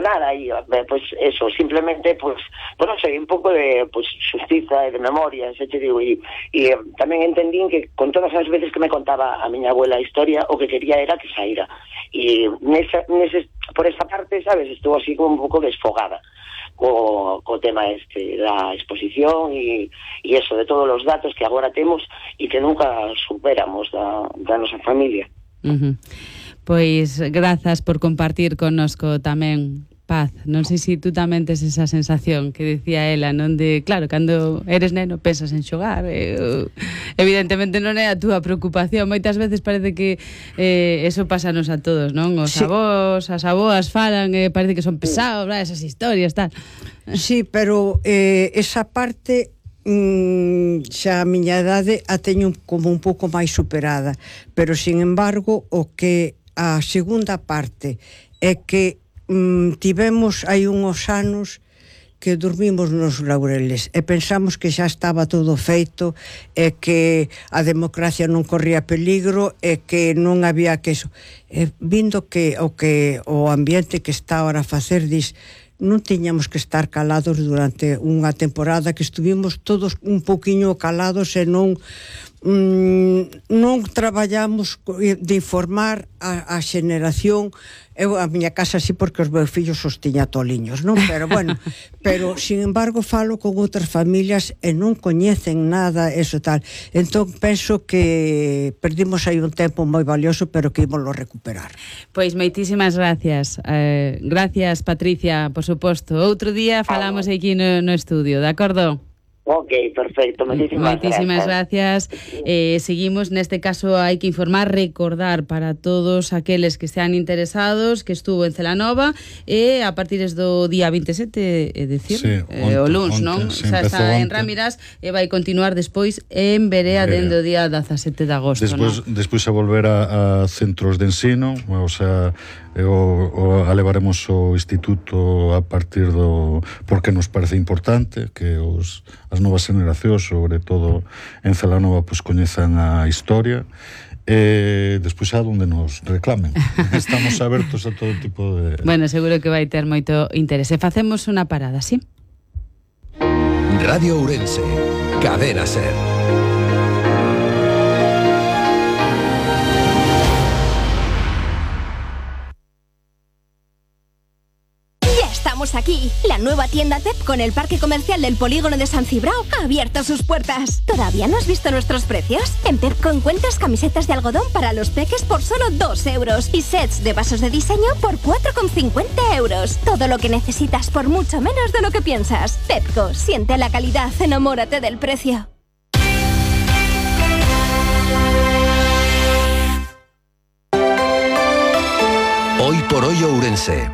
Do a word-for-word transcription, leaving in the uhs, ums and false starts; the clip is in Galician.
nada, e pues eso, simplemente pues, pues non sei, un pouco de pues xustiza e de memoria, xa te digo, e, e tamén entendín que con todas as veces que me contaba a miña abuela a historia, o que quería era que saíra, e nesa, nese, por esa parte, sabes, estuvo así como un pouco desfogada co, co tema este da exposición e, e eso, de todos os datos que agora temos e que nunca superamos da, da nosa familia. Uh-huh. Pois grazas por compartir connosco tamén, Paz. Non sei se tú tamén tes esa sensación que decía ela, non de, claro, cando eres neno pensas en xogar, eh, evidentemente non é a túa preocupación, moitas veces parece que eh, eso pásanos a todos, non? Os sí. avós, as aboas falan, eh, parece que son pesados, bla, esas historias, tal. Sí, pero eh, esa parte mm, xa a miña idade a teño como un pouco máis superada, pero sin embargo o que a segunda parte é que mm, tivemos hai uns anos que dormimos nos laureles e pensamos que xa estaba todo feito e que a democracia non corría peligro e que non había que eso. E vindo que o que o ambiente que está ahora a facer, dis, non tiñamos que estar calados durante unha temporada, que estuvimos todos un poquinho calados e non mm, non traballamos de informar a, a xeneración. Eu a miña casa sí, porque os meus fillos os tiña toliños, non? Pero bueno, pero sin embargo falo con outras familias e non coñecen nada eso tal. Entón penso que perdimos aí un tempo moi valioso, pero que ímoslo recuperar. Pois moitísimas gracias. Eh, gracias, Patricia, por suposto. Outro día falamos aquí no, no estudio, de acordo? Ok, perfecto, moitísimas, moitísimas gracias, gracias. Eh, seguimos, neste caso hai que informar, recordar para todos aqueles que estean interesados que estuvo en Celanova e a partir do día veintisiete, é dicir, sí, eh, o luns, non? Sí, xa está en Rámiras e vai continuar despois en Berea dende o día dezasete de agosto, despois, non? Despois a volver a, a centros de ensino, o sea, o, o a levaremos o instituto a partir do, porque nos parece importante que os as novas generacións, sobre todo en Celanova, pues coñezan a historia e despois a donde nos reclamen. Estamos abertos a todo tipo de... Bueno, seguro que vai ter moito interese. Facemos unha parada, sí? Radio Ourense, Cadena Ser. Aquí, la nueva tienda T E P con el parque comercial del polígono de San Cibrao ha abierto sus puertas. ¿Todavía no has visto nuestros precios? En Pepco encuentras camisetas de algodón para los peques por solo dos euros y sets de vasos de diseño por cuatro con cincuenta euros. Todo lo que necesitas por mucho menos de lo que piensas. Pepco, siente la calidad, enamórate del precio. Hoy por hoy Ourense.